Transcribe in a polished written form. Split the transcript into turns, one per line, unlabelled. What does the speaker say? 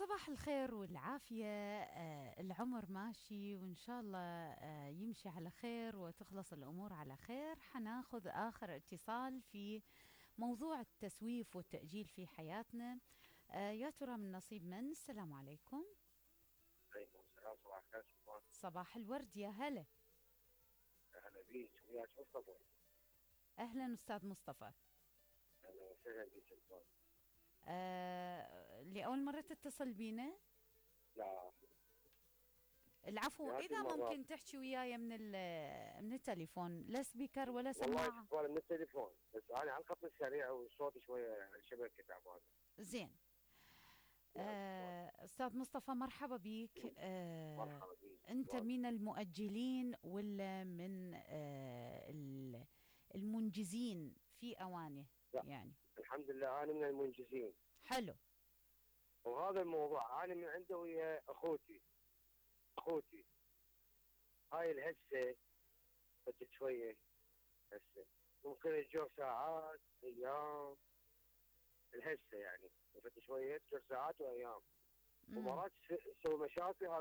صباح الخير والعافية. العمر ماشي وإن شاء الله يمشي على خير وتخلص الأمور على خير. حناخذ آخر اتصال في موضوع التسويف والتأجيل في حياتنا. يا ترى من نصيب من؟ السلام عليكم.
عليكم السلام. صباح الخير.
صباح الورد، يا هلا.
اهلا بيك، وياك مصطفى.
أهلا أستاذ مصطفى.
اهلا وسهلا بيك سلطان.
لأول مرة تتصل بينا؟
لا،
العفو،
مئات
إذا
المرات.
ممكن تحكي وياي من التليفون، لا سبيكر ولا
والله
سماعة.
شكرا من التليفون، بس انا على الخط السريع والصوت شويه الشبكه تعبانه.
زين. أستاذ مصطفى، مرحبا بك.
مرحبا بيك.
أنت من المؤجلين ولا من المنجزين في أوانه؟
لا،
يعني
الحمد لله انا من المنجزين.
حلو.
وهذا الموضوع انا من عنده ويا اخوتي هاي الهسه بدت شويه. هسه ممكن تجور ساعات ايام، الهسه يعني بدت شويه تجور ساعات وايام، ومرات تسوي مشاكل. هذا